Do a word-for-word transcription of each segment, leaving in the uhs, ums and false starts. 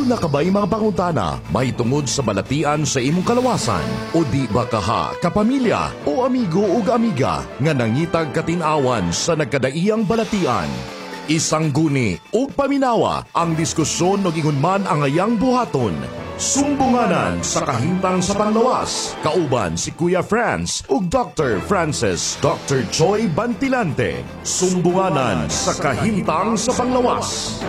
Duna ka ba'y mga pangutana mahitungod sa balatian sa imong kalawasan o di ba kaha kapamilya o amigo ug amiga nga nangitag katin-awan sa nagkadaiyang balatian? Isangguni ug paminawa ang diskusyon ug ingon man ang ayang buhaton. Sumbunganan sa kahimtang sa panglawas. Kauban si Kuya Franz ug Doctor Francis Doctor Choi Bantilante. Sumbunganan sa kahimtang sa panglawas.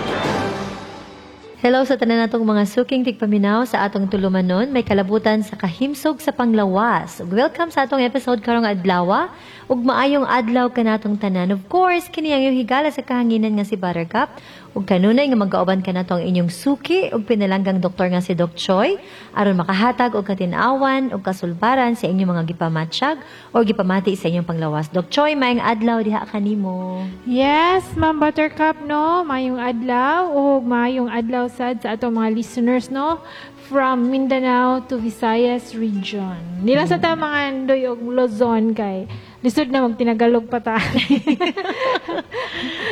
Hello sa tanan natong mga suking tigpaminaw sa atong tulumanon may kalabutan sa kahimsog sa panglawas. Ug welcome sa atong episode karong adlaw ug maayong adlaw kanatong tanan. Of course, kini ang iyong higala sa kahanginan nga si Buttercup ug kanunay nga magkauban kanato ang inyong suki ug pinalanggang doktor nga si Doc Choi aron makahatag og katin-awan ug kasulbaran sa inyong mga gipamatsyag o gipamati sa inyong panglawas. Doc Choi, maayong adlaw diha kanimo. Yes, Ma'am Buttercup, no? Mayong adlaw ug mayong adlaw sad sa atong mga listeners, no? From Mindanao to Visayas region. Nila sa ta mga andoy og Luzon kay lisod na magtinagalog pa ta.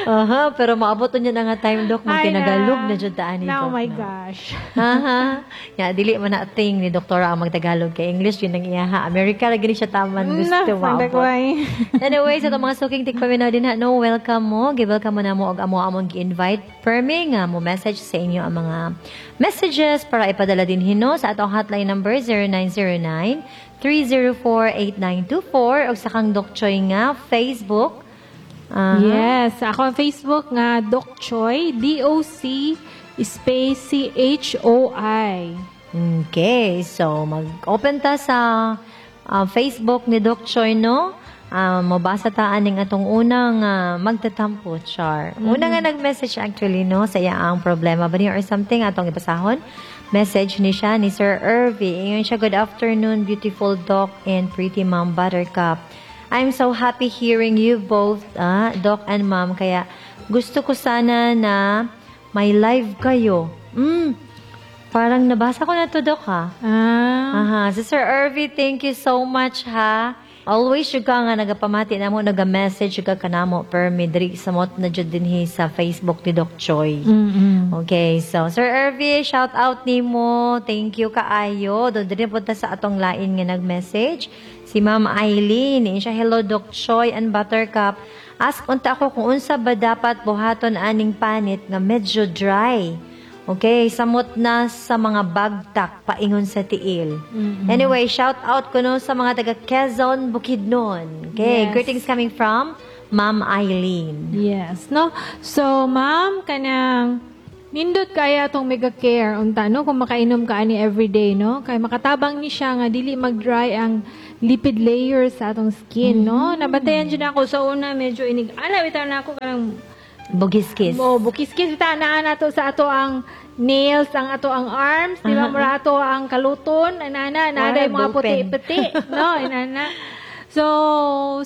Aha, pero maabot niya na nga time, Doc, Ay, magtinagalog na jud ta ani, Oh Doc, my no? gosh. Aha. Ya, dili man na thing ni doktora ang magtagalog kay English yun ang iyaha. America lagi ni siya taman gusto Na, maabot. pagdagway. Anyway, sa itong mga suking tigpaminaw din ha, no, welcome mo. Gi-welcome mo na mo og amo among gi-invite permi nga mo message sa inyo ang mga messages para ipadala din hino sa atong hotline number zero nine zero nine three zero four, eight nine two four og sa kang Doc Choi nga Facebook. Aha. Yes, ako ang Facebook nga Doc Choi, D O C space C H O I. Okay, so mag-open ta sa ah, Facebook ni Doc Choi, no? Ah, mabasa ta aning atong unang ah, magtatampo, char. Una nga nag-message actually, no, sa iya ang problema ba niya or something atong ibasahon. Message ni siya ni Sir Irvy. Ingon siya, "Good afternoon, beautiful Doc and pretty Mom Buttercup. I'm so happy hearing you both, ah, Doc and Mom. Kaya gusto ko sana na may live kayo." Mm, parang nabasa ko na to, Doc, ha? Ah. Aha. Si Sir Irvy, thank you so much, ha? Always jud ka nga nagapamati namo, naga-message jud ka kanamo permi diri samot na jud dinhi sa Facebook ni Doc Choi. Mm-mm. Okay, so Sir Irvy, shout out nimo. Thank you kaayo. Do diri punta sa atong lain nga nag-message. Si Ma'am Eileen, ingon siya, "Hello Doc Choi and Buttercup. Ask unta ako kung unsa ba dapat buhaton aning panit nga medyo dry. Okay, samot na sa mga bagtak paingon sa tiil." Anyway, shout out ko no sa mga taga Quezon, Bukidnon. Okay, Yes. greetings coming from Ma'am Eileen. Yes, no? So, ma'am, kanang nindot kaya atong Mega Care unta, no, kung makainom ka ani everyday, no, kay makatabang ni siya nga dili mag-dry ang lipid layer sa atong skin, no? Nabantayan jud ako sa una, medyo inig ala bitaw na ako kanang Bugiskis. Mo bukiskis bitaw naa nato sa ato ang nails, ang ato ang arms, di ba, mura ato ang kaluton, anana, naa Wala, mga ballpen. puti-puti, no, inana. So,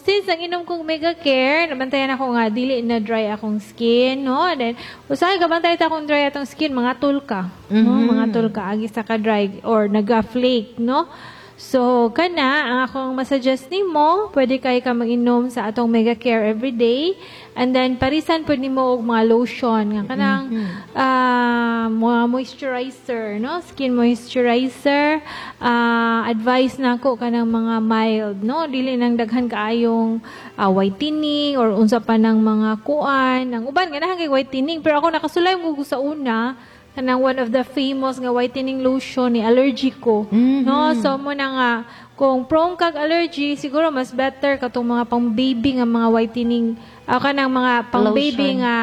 since ang inom kong Mega Care, nabantayan ako nga dili na dry akong skin, no? And then, usahay kabantay ta kung dry atong skin, mga tul ka, no? Mga tul ka agi sa ka dry or naga-flake, no? So, kana, ang akong masuggest nimo, pwede kay ka mag-inom sa atong Mega Care every day. And then, parisan pud nimo og mga lotion, nga kanang ah, mga moisturizer, no? Skin moisturizer. Ah, advice na ako kanang mga mild, no? Dili nang daghan kaayong ah, whitening or unsa pa ng mga kuan. Ang uban ganahan kay whitening, pero ako nakasulay mo sa una kanang one of the famous nga whitening lotion ni allergic ko. No, so mo na nga kung prone kag allergy, siguro mas better katong mga pang baby nga mga whitening, uh, kanang mga pang baby Lotion. nga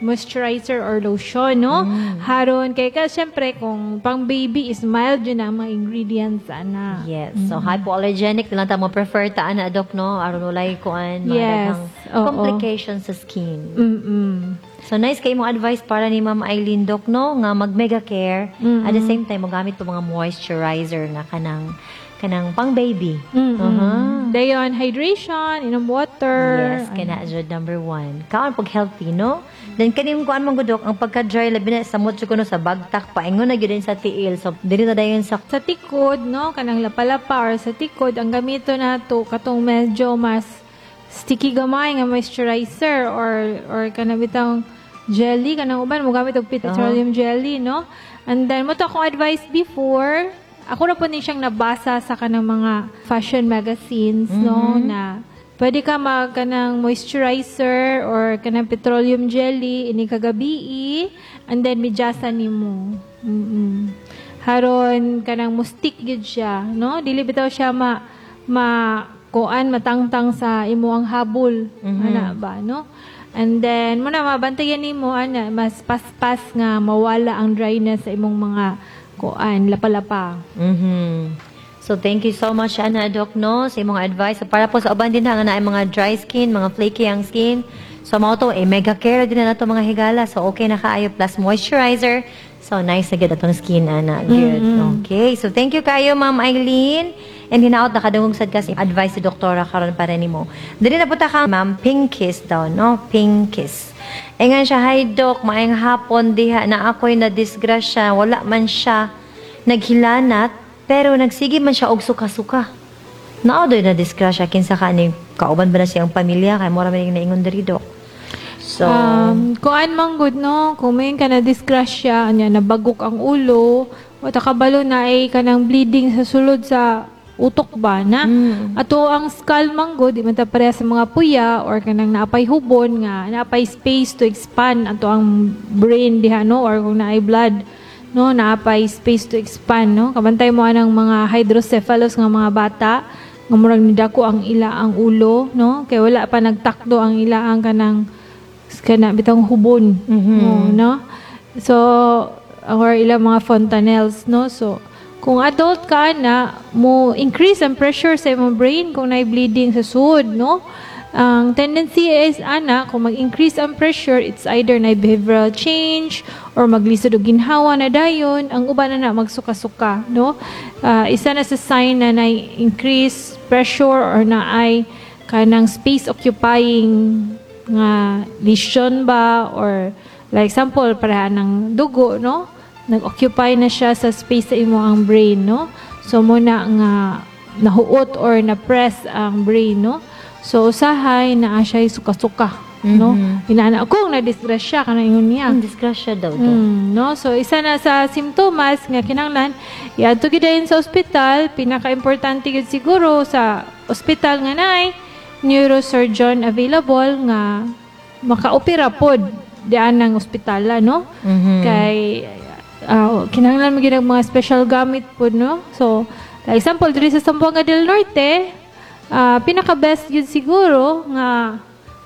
moisturizer or lotion, no? Haron kay ka syempre kung pang baby is mild yun ang mga ingredients ana. Yes. So, hypoallergenic na lang ta mo prefer ta ana, Doc, no? Aron walay kuan, mga Yes. daghang Oo. complications sa skin. Mm. So, nice kay mo advice para ni Ma'am Eileen, Doc, no? Nga mag Mega Care. At the same time, mogamit po mga moisturizer nga kanang kanang pang baby. Mm. Uh-huh. Dayon hydration, inom water. Yes, kana jud number one. Kaon pag healthy, no? Then kaning kuan man gud, Dok, ang pagka-dry labi na samot jud kuno sa bagtak paingon na gyud din sa tiil. So dili na dayon sa Sa tikod, no, kanang lapalapa or sa tikod, ang gamito nato katong medyo mas sticky gamay nga moisturizer or or kanang bitang jelly kanang uban mo gamit og petroleum jelly, no? And then mao to akong advice before, ako na po ni siyang nabasa sa kanang mga fashion magazines, no, na pwede ka mag kanang moisturizer or kanang petroleum jelly ini kagabi and then medyasa nimo. Mm. Haron kanang mo-stick gyud siya, no? Dili bitaw siya ma ma kuan matangtang sa imo ang habol, ana ba, no? And then mao na mabantayan nimo ana mas paspas nga mawala ang dryness sa imong mga kuan lapa-lapa. Mhm. So thank you so much ana Doc no sa imong advice. So, para po sa uban din ha nga naay mga dry skin, mga flaky ang skin. So mao to eh, mega care din na nato mga higala. So okay na kaayo plus moisturizer. So nice na gyud atong skin ana. Good. Okay. So thank you kayo Ma'am Eileen. And hinaot nakadungog sad ka sa advice si doktora karon para nimo. Dili na punta ka Ma'am Pinkies daw no? Pinkies. Ingon siya, hi Doc, maayong hapon diha na ako'y na disgrasya, wala man siya naghilanat, pero nagsige man siya og suka-suka. Naa doy na disgrasya kinsa ka ni kauban ba na siyang pamilya kay mura man yung naingon diri Doc. So, Um, kuan man gud no, kung may ka na disgrasya, anya nabagok ang ulo, o kabalo na ay kanang bleeding sa sulod sa utok ba na? Mm. Ato ang skull man gud, di man ta pareha sa mga puya or kanang naapay hubon nga naapay space to expand ato ang brain diha no or kung naay blood no naapay space to expand no kabantay mo anang mga hydrocephalus nga mga bata nga murag nidako ang ila ang ulo no kay wala pa nagtakdo ang ila ang kanang kana bitang hubon Mhm. oh, no so or ilang mga fontanelles no so kung adult ka na mo increase ang pressure sa imong brain kung naay bleeding sa sud no ang tendency is ana kung mag-increase ang pressure it's either na behavioral change or maglisod og ginhawa na dayon ang uban na na magsuka-suka no Ah, isa na sa sign na na increase pressure or na ay kanang space occupying nga lesion ba or like example pareha ng dugo no nag-occupy na siya sa space sa imo ang brain no so mao na nga nahuot or na-press ang brain no so usahay naa siya suka-suka no inaana kung na-disgrasya kana ingon niya ang disgrasya daw Doc. Mm, no? So isa na sa simptomas nga kinahanglan iadto gyud dayon sa ospital, pinaka-importante gyud siguro sa ospital nga naay neurosurgeon available nga makaopera pod diyan ng ospitala no? Mhm. Kay ah, kinahanglan mo gyud ang mga special gamit pod no? So like example diri sa Zamboanga del Norte, ah, pinaka best gyud siguro nga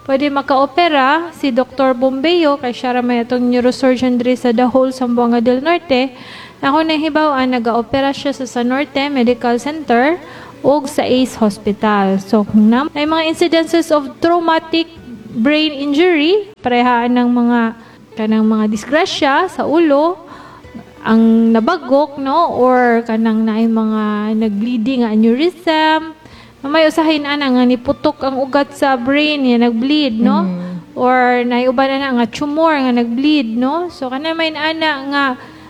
pwede makaopera si Dr. Bombeo kay siya ra may atong neurosurgeon diri sa the whole Zamboanga del Norte. Ako nahibaw-an nagaopera siya sa San Norte Medical Center ug sa ACE Hospital. So kung na may mga incidences of traumatic brain injury, parehaan ng mga kanang mga disgrasya sa ulo, ang nabagok no or kanang naay mga nag-bleeding nga aneurysm may usahin ana nga niputok ang ugat sa brain niya nag-bleed no or naay uban ana nga tumor nga nag-bleed no so kana may ana nga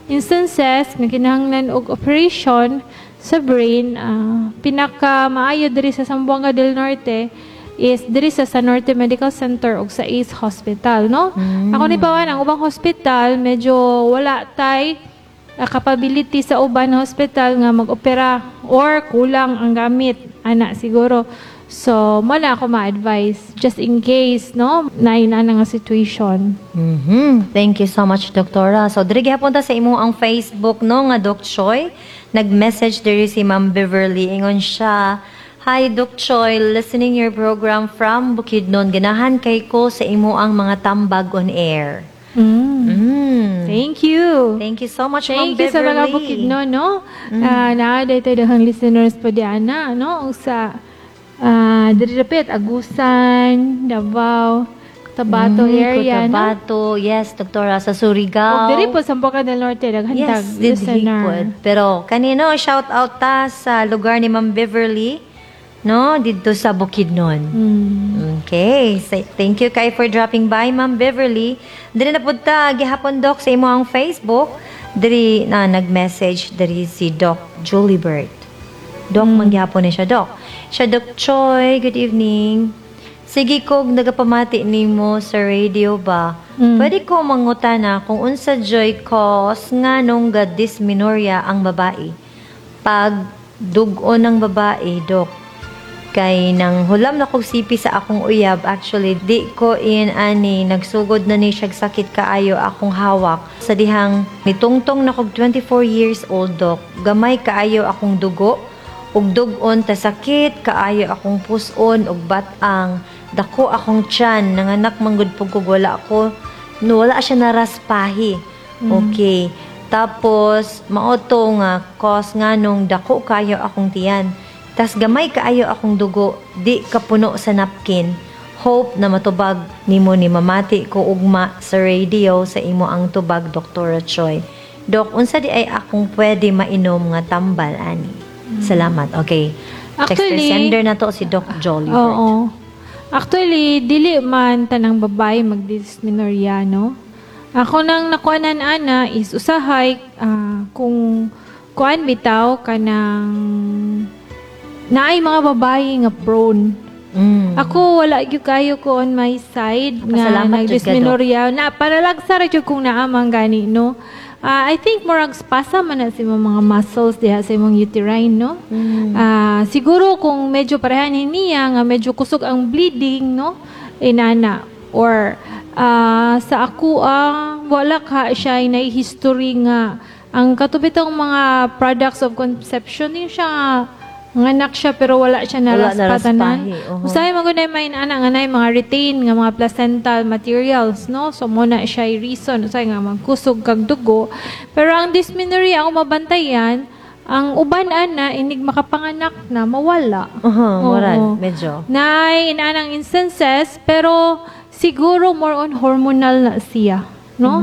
instances nga kinahanglan og operation sa brain ah, pinaka maayo diri sa Zamboanga del Norte is diri sa San Norte Medical Center ug sa ACE Hospital no ako ni pawan ang ubang hospital medyo wala tay uh, capability sa uban hospital nga mag-opera or kulang ang gamit ana siguro so mo na ako ma-advise just in case no na ana nga situation Mhm. Thank you so much, Doktora. So, diri gihapon ta sa imo ang Facebook no nga Doc Choi. Nag-message diri si Ma'am Beverly ingon siya, Hi Doc Choi, listening your program from Bukidnon. Ganahan kay ko sa imo ang mga tambag on air. mm. Mm. thank you Thank you so much, Ma'am Thank you sa Beverly. mga Bukidnon, no? Ah, naa dito daghang listeners po di ana, no? Ug sa ah diri dapit Agusan, Davao, Cotabato Mm, area, no? Cotabato, yes, Doktora, sa Surigao. Ug diri po sa Zamboanga del Norte daghan Yes, tag didhi listener. pod. Pero kanino shout out ta sa lugar ni Ma'am Beverly, no, didto sa Bukidnon. Mm. Okay, so, thank you kay for dropping by, Ma'am Beverly. Diri na pud ta gihapon Doc sa imo ang Facebook. Diri na nag-message diri si Doc Julie Bird. Doc mm. manggihapon ni siya, Doc. Siya Doc Choi, good evening. Sige kog nagapamati nimo sa radio ba. Mm. Pwede ko mangutana kung unsa juy cause nganong ga dysmenorrhea ang babae. Pag dugo ng babae, dok. Kay nang hulam na kog C P sa akong uyab, actually di ko in ani nagsugod na ni siya sakit kaayo akong hawak. Sa dihang nitungtong na kog twenty-four years old, dok, gamay kaayo akong dugo ug dug-on ta sakit kaayo akong puson ug bat-ang dako akong tiyan. Nanganak manggod pug kog wala ako, no, wala siya naraspahi. Okay, tapos mao to nga cause nganong dako kayo akong tiyan, tas gamay kaayo akong dugo, di kapuno sa napkin. Hope na matubag nimo ni mamati ko ugma sa radio sa imo ang tubag, Doktor Choi. Dok, unsa di ay akong pwede mainom nga tambal ani? Salamat. Okay. Texter Actually- sender na to si Doc Jolly. Oo. Actually, dili man tanang babae mag-dysmenorrhea, no? Ako nang nakuanan ana is usahay ah, kung kuan bitaw kanang naay mga babae nga prone. Mm. Ako wala gyud kayo ko on my side nga Pasalamat jud ka, Dok. Nag-dysmenorrhea. Na paralagsa ra jud kung naamang gani, no. Ah, I think murag spasm man na sa imong mga muscles diha sa imong uterine, no. Mm. Ah, siguro kung medyo parehan niya nga medyo kusog ang bleeding, no, inana or ah, sa ako ah, wala ka siya na history nga ang katubitong mga products of conception ni siya nga nganak siya pero wala siya Wala naraspatanan. naraspahi, oho. Usahay man gud may ana nga nay mga retain nga mga placental materials, no? So mo na siya reason usahay nga magkusog kag dugo. Pero ang dysmenorrhea, ang mabantayan, ang uban ana inig makapanganak na mawala. Uh-huh, moral, Oo. medyo. Nay inanang instances, pero siguro more on hormonal na siya, no?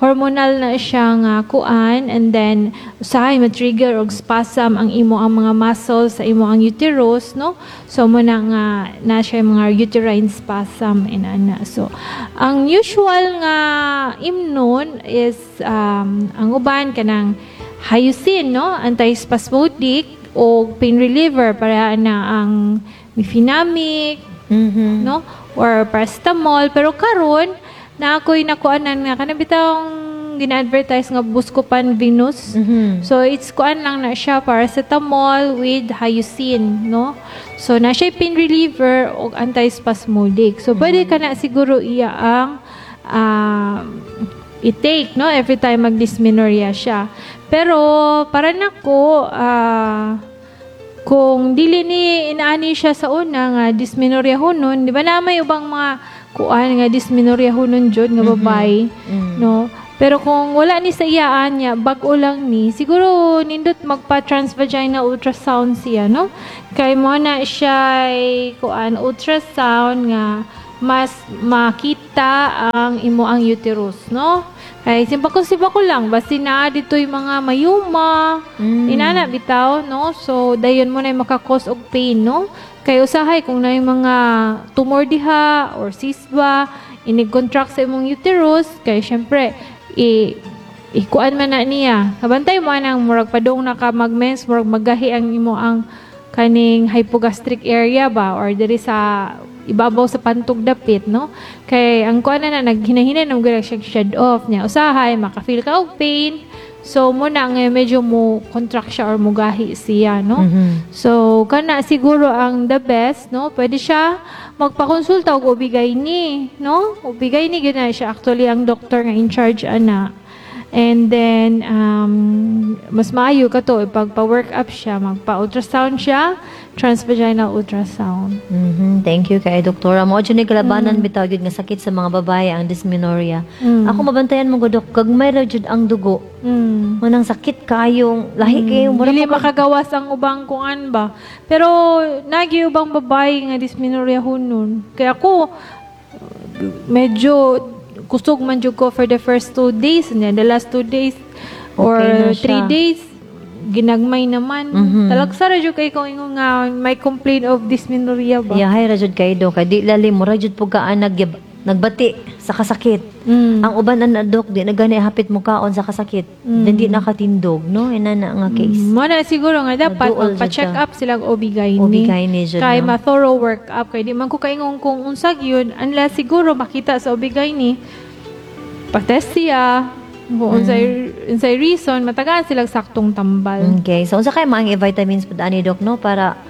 Hormonal na siya nga kuan and then usahay ma-trigger og spasm ang imo ang mga muscles sa imo ang uterus, no? So mo na nga na siya yung mga uterine spasm inana. So ang usual nga imnon is um, ang uban kanang hyoscine, no? Antispasmodic o pain reliever para na ang mefenamic, Mhm. no? Or paracetamol. Pero karon na ako'y nakuanan nga kanang bitawng gina-advertise nga Buscopan Venus. Mhm. So it's kuan lang na siya, paracetamol with hyoscine, no? So na siya pain reliever o antispasmodic. So pwede ka na siguro iya ang um, i-take, no, every time mag-dysmenorrhea siya. Pero para nako ah kung dili ni inaani siya sa una nga dysmenorrhea hunon, di ba na may ubang mga kuan nga dysmenorrhea hunon jud nga babae, no? Pero kung wala ni sa iyaan niya, bag-o lang ni, siguro nindot magpa transvaginal ultrasound siya, no? Kay mo na siya kuan ultrasound nga mas makita ang imo ang uterus, no? Kay simpa ko simpa ko lang basta naa dito yung mga myoma, Mm. inana bitaw, no? So dayon mo na maka-cause og pain, no? Kay usahay kung na yung mga tumor diha or cyst ba, inig-contract sa imong uterus, kay syempre i ikuan man na niya. Kabantay mo anang murag padung na ka magmens, murag magahi ang imo ang kaning hypogastric area ba or diri sa ibabaw sa pantog dapit, no? Kay ang kuan na na naghinahina na gyud siya shed off niya. Usahay maka-feel ka og pain. So mo na nga medyo mo contract siya or mugahi siya, no? Mhm. So kana siguro ang the best, no? Pwede siya magpakonsulta og O B-G Y N, no? O B-G Y N gyud na siya actually ang doctor nga in charge ana. And then um, mas maayo ka to ipagpa-work up siya, magpa-ultrasound siya, transvaginal ultrasound. Mhm, Thank you kay Doktora. Mo jud ni kalabanan bitaw gyud nga sakit sa mga babae ang dysmenorrhea. Mm. Ako mabantayan mo gud, Dok, gagmay ra jud ang dugo. Mm. Manang sakit kayong lahi kayo mura Dili pa ka- makagawas ang ubang kuan ba. Pero nagi ubang babae nga dysmenorrhea hunon. Kaya ako medyo kusog man jud ko for the first two days and then the last two days or Okay na siya. three days ginagmay naman. Mhm. Talagsa ra jud kay kung ingon nga may complaint of dysmenorrhea ba. Yahay ra jud kay do kay di lalim mura jud pug ka nag Nagbati sa kasakit. Mm. Ang uban na dok di na gani hapit mo kaon sa kasakit. Mm. Hindi nakatindog, no? Ina na nga case. Mo na siguro nga dapat Maduol jud magpa-check ka. up sila og O B-G Y N. O B-G Y N jud, Kay no? ma-thorough work up kay di man ko kaingon kung unsa gyud unless siguro makita sa O B-G Y N, pa-test siya kung unsay unsay reason, matagaan sila saktong tambal. Okay. So unsa kay maang vitamins pud ani, dok, no, para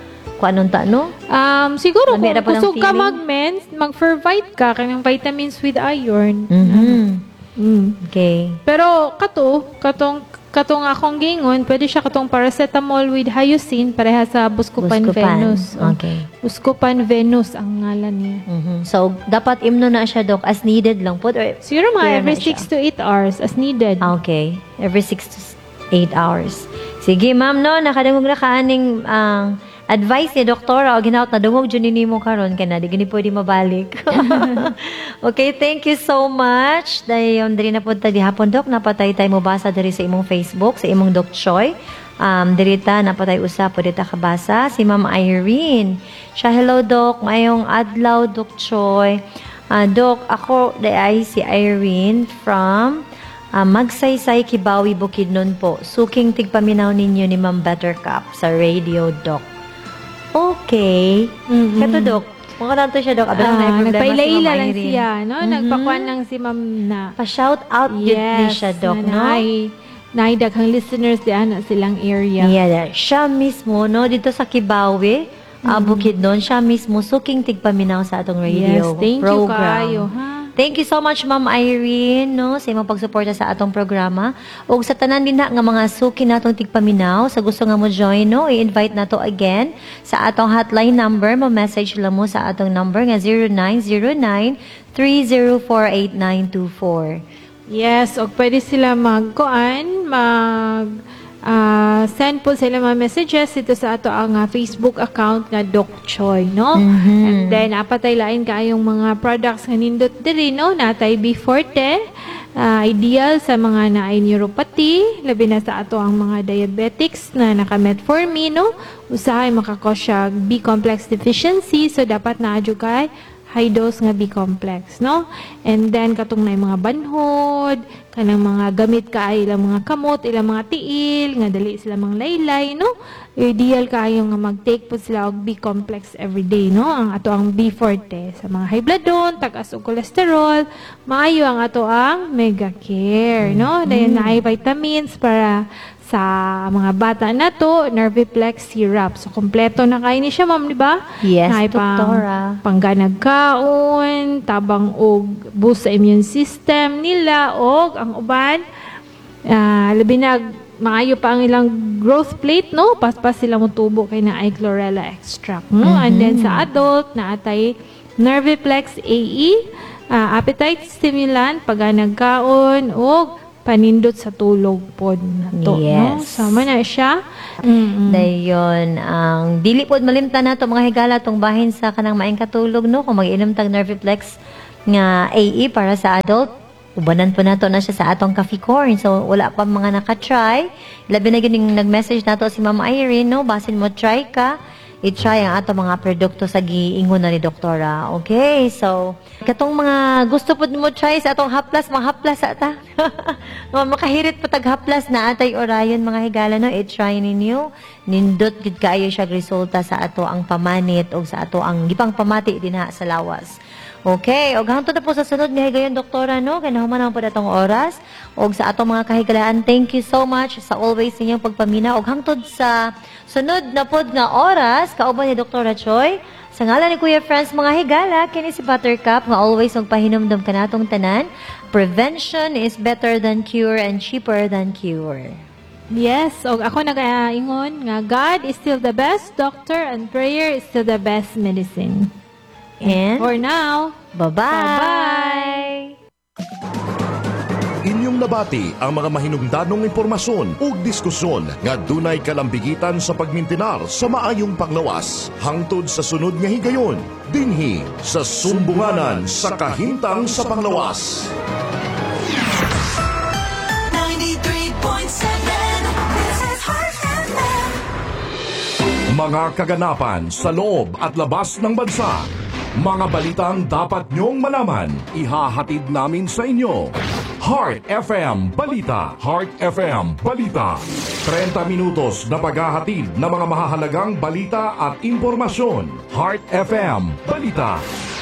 kuanon ta, no? Um, siguro Lami kung ra po ng kusog ka feeling. mag-mens, mag-Fervite ka kanang vitamins with iron. Mhm. Mm. Okay. Pero kato, katong katong akong gingon, pwede siya katong paracetamol with hyoscine, pareha sa Buscopan, Buscopan. Venus. Oh. Okay. Buscopan Venus ang ngalan niya. Mhm. So dapat imno na siya, dok, as needed lang po or Siguro mga Clear na every siya. six to eight hours as needed. Okay. Every six to eight hours. Sige, ma'am, no, nakadungog na kaaning ang advice ni doktora o ginaot na dungog jud nimo karon kay na di gani pwede mabalik. Okay, thank you so much. Dayon diri na pud ta gihapon, dok, napatay tay mo basa diri sa imong Facebook, sa imong Doc Choi. Um, diri ta napatay usa pwede ta kabasa si Ma'am Irene. Siya, "Hello doc, mayong adlaw, Doc Choi. Ah, doc, ako ay si Irene from Ah, Magsaysay, Kibawi, Bukidnon po. Suking tigpaminaw ninyo ni Ma'am Buttercup sa radio, doc." Okay. Mm-mm. Kato, doc. Mga nato siya, doc. Abi lang Ah, na problema si Ma'am nagpailaila lang Irene. siya, no? Nagpakuan lang si Ma'am na. Pa-shout out yun ni Yes, siya, doc, na no? naay naay daghang listeners di ana silang area. Yeah, yeah. Siya mismo, no? Dito sa Kibawi, ah, Bukidnon, siya mismo suking tigpaminaw sa atong radio Yes, thank you program. kaayo, ha? Thank you so much, Ma'am Irene, no, sa imong pagsuporta sa atong programa. Ug sa tanan din na nga mga suki natong tigpaminaw, sa gusto nga mo join, no, i-invite nato again sa atong hotline number, mo-message lang mo sa atong number nga zero nine zero nine three zero four eight nine two four. Yes, og pwede sila magkuan, mag ah, send po sila mga messages dito sa ato ang ah, Facebook account nga Doc Choi, no? And then apatay lain kaayong mga products nga nindot diri, no? Natay B Forte, ah, ideal sa mga naay neuropathy, labi na sa ato ang mga diabetics na naka-metformin, no? Usahay makakos siya B complex deficiency, so dapat naa jud kay high dose nga B complex, no? And then katong na mga banhod, kanang mga gamit kaayo ilang mga kamot, ilang mga tiil, nga dali sila mga laylay, no? Ideal kaayo nga mag-take po sila og B complex every day, no? Ang ato ang B Forte sa mga high blood don, tag-as og cholesterol, maayo ang ato ang Mega Care, no? Dayon naay vitamins para sa mga bata na to, Nerviplex syrup. So, kompleto na kayo ni siya, ma'am, di ba? Yes, Naay pang- doktora. Pangganag kaon, tabang og boost sa immune system nila, og ang uban, ah, labi na maayo pa ang ilang growth plate, no? Paspas sila mo tubo kay naay chlorella extract, no? And then sa adult, naatay Nerviplex A E, ah, appetite stimulant, pagganag kaon, og panindot sa tulog pod na to, no? Yes. Sama na siya. Mm-mm. Dayon, ang dili pod malimtan nato, mga higala, tong bahin sa kanang maayong katulog, no, kung mag-inom tag Nerviplex nga A E para sa adult, ubanan po nato na siya sa atong coffee corn. So wala pa mga naka-try, labi na gining nag-message nato si Ma'am Irene, no, basin mo try ka, i-try ang ato mga produkto sa giingon na ni doktora. Okay, so katong mga gusto pod mo try sa atong haplas, mga haplas ata. Mga makahirit pa tag haplas na atay Orion, mga higala, no, i-try ninyo. Nindot gid kaayo siya resulta sa ato ang pamanit o sa ato ang gipang pamati dinha sa lawas. Okay, og hangtod na po sa sunod nga higayon, doktora, no, kay nahuman naman po atong oras. Og sa atong mga kahigalaan, thank you so much sa always ninyong pagpamina. Og hangtod sa sunod na pod nga oras, kauban ni Doktora Choi. Sa ngalan ni Kuya Franz, mga higala, kini si Buttercup nga always magpahinumdum kanatong tanan. Prevention is better than cure and cheaper than cure. Yes, og ako nagaingon nga God is still the best doctor and prayer is still the best medicine. And For now, bye-bye! Bye-bye! Inyong nabati ang mga mahinungdanong impormasyon ug diskusyon nga dunay kalambigitan sa pagmintinar sa maayong panglawas. Hangtod sa sunod nga higayon, dinhi sa Sumbunganan sa Kahimtang sa Panglawas. ninety-three point seven. This is Heart F M. Mga kaganapan sa loob at labas ng bansa. Mga balitang dapat nyong malaman, ihahatid namin sa inyo. Heart F M Balita. Heart F M Balita. trenta minutos na paghahatid ng mga mahahalagang balita at impormasyon. Heart F M Balita.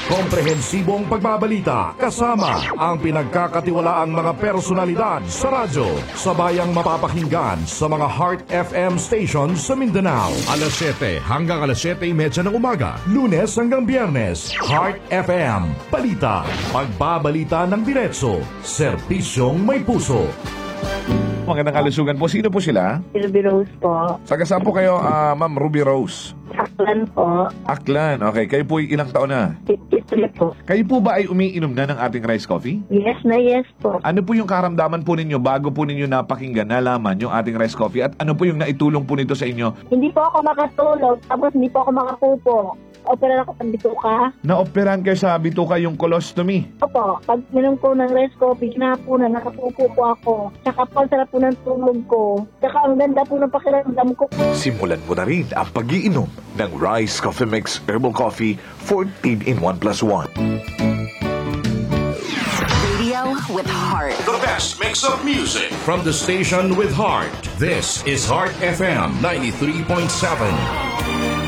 Komprehensibong pagbabalita kasama ang pinagkakatiwalaang mga personalidad sa radyo. Sabayang mapapakinggan sa mga Heart F M stations sa Mindanao. Alas siyete hanggang alas siyete trenta ng umaga. Lunes hanggang Biyernes. Heart F M Balita. Pagbabalita ng diretso. Serbisyong may puso. Magandang kalusugan po. Sino po sila? Ruby Rose po. Taga saan po kayo, ah, Ma'am Ruby Rose? Aklan po. Aklan. Okay, kayo po ay ilang taon na? fifty-three po. Kayo po ba ay umiinom na ng ating rice coffee? Yes na yes po. Ano po yung karamdaman po ninyo bago po ninyo napakinggan, nalaman yung ating rice coffee at ano po yung naitulong po nito sa inyo? Hindi po ako makatulog, tapos hindi po ako makapupo. Opera ako ng bituka. Na-operahan kayo sa bituka, yung colostomy. Opo, pag minom ko ng rice coffee, na nakapupo po ako. Tsaka po, ang sarap po ng tulog ko. Tsaka ang ganda po ng pakiramdam ko. Simulan mo na rin ang pagiinom ng Rice Coffee Mix Herbal Coffee fourteen in one plus one. Radio with heart. The best mix of music from the station with heart. This is Heart F M ninety-three point seven.